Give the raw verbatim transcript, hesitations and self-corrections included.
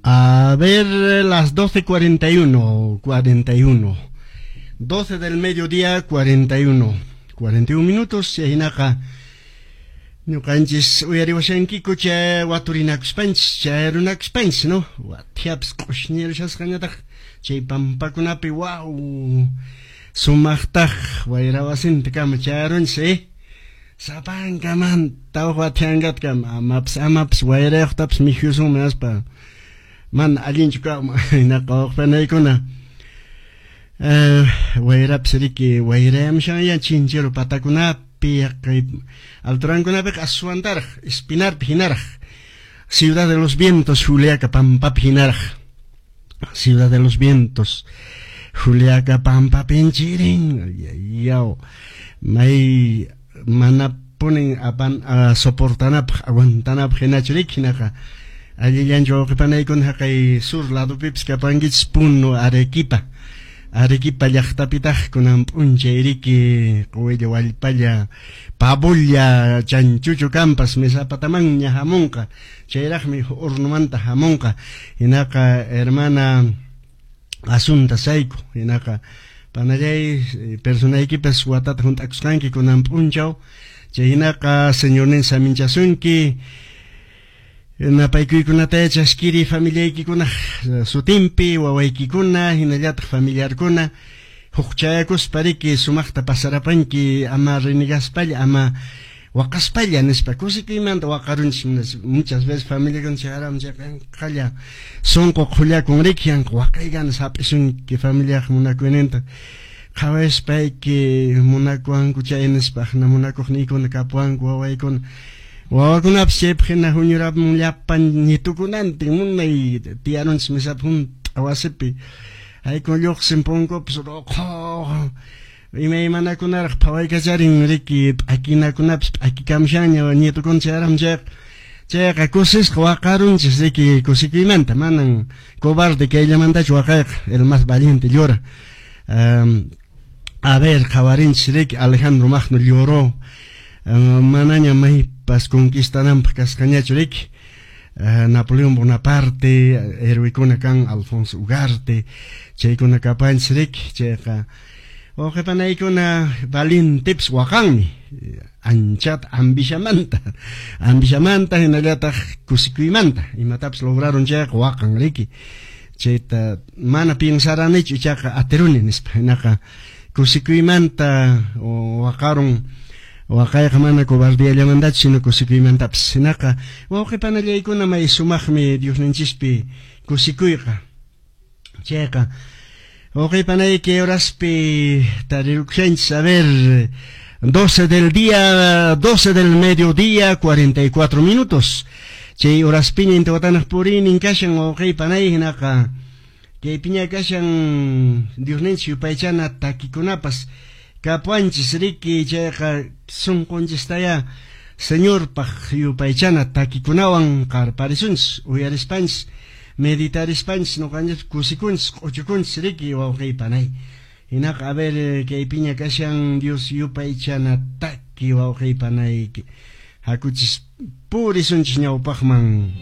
A ver, las doce cuarenta y uno, cuarenta y uno. doce del mediodía, cuarenta y uno. cuarenta y un minutos, chaynaqa ñuqanchis uyariwashankiku chay waturinakuspanchis, chay runakuspanchis, no? Wathiapas q'ushñirushasqañataq chay pampakunapi, waw, sumaqtaq wayrawasintakama chayarunchis, eh? Sapankamanta huk wathiankatkama, amapas, amapas wayrayuqtapas mikhusunman aspa. Man allinchu kawman, hinaqa waqpanaykuna. Uh, wayrapas riki wayrayamushanña chinchero patakunapi, kay alturankunapiqa aswantaraq, Espinarpi hinaraq, Ciudad de los Vientos, Juliaca pampapi hinaraq, Ciudad de los Vientos, Juliaca pampapin chirin, yaw, may mana punin apan uh, soportanapaq, aguantanapaq hinachu riki hinaqa. Allillanchu wawqipanaykuna haqay sur ladupipis kapankichis Puno, Arequipa. Arequipa llaqtapitaq kunan p'unchay riki quwilla wallpalla pabulla chanchuchu kampas mesapatamanña hamunqa, chayraqmi hornomanta hamunqa. Hinaqa hermana Asunta Sayku, hinaqa panallay personaykipas watata hunt'akusqanki kunan p'unchaw, chay hinaqa señornin saminchasunki. Napaykuykunata chaskiri familiaykikunaq sutinpi, wawaykikuna, hinallataq familiarkuna, hukchayakuspa riki sumaqta pasarapanki, ama renegaspalla, ama waqaspalla nispa, kusikuymanta waqarunchis muchas veces familiakuna chayaram chayqa sunqu qhullakun riki, yanqa waqaykana hap'isunki familiaq munakuyninta, qhawaspayki munakuwanku chay nispa, aqna munakuqniykuna kapuwanku wawaykuna. Wawakunapas chaypaq hina huñuramun llapan ñitukunantin munay tiyarunchis mesapi hunt'a wasipi, haykun lluqsin punkupas ruqhu imaymanakunaraq phawaykacharin riki p'akinakunapas p'akikamushanña ñitukuna chayaram chayqa, chayqa kusisqa waqarunchis riki kusikuymanta, manan cobarde kayllamantachu waqayqa, el más valiente llora. Um, a ver, qhawarinchis riki Alejandro Magno lloró, uh, manaña maypas conquistananpaq kasqañachu riki. Uh, Napoleón Bonaparte, héroekuna kan Alfonso Ugarte, chaykuna kapanchis riki, chayqa wawqipanaykuna valientepis waqanmi, anchata ambishamanta, ambishamanta hinallataq kusikuymanta, imatapas lograron chayqa waqan riki, chayta mana piensaranichu ichaqa atiruni nispa, hinaqa kusikuymanta waqarun. Waqayqa mana cobardiallamantachu sino kusikuymantapas. Hinaqa wawqipanallaykuna may sumaqmi Diosninchispi kusikuyqa. Chayqa wawqipanayki horaspi tarirukushanchis, a ver, doce del día, doce del mediodía, cuarenta y cuatro minutos. Chay horaspiña intiwatanaq purinin kashan wawqipanay, hinaqa kaypiña kashan Diosninchis yupaychana takikunapas kapuanchis riki, chayqa sunqunchistaya Señorpaq yupaychana takikunawan qarparisunchis, uyarispanchis, meditarispanchis, ñuqanchis kusikunchis, q'uchukunchis riki wawqipanay. Hinaqa a ver kaypiña kashan Dios yupaychana taki wawqipanayki, hakuchis purisunchis ñawpaqman.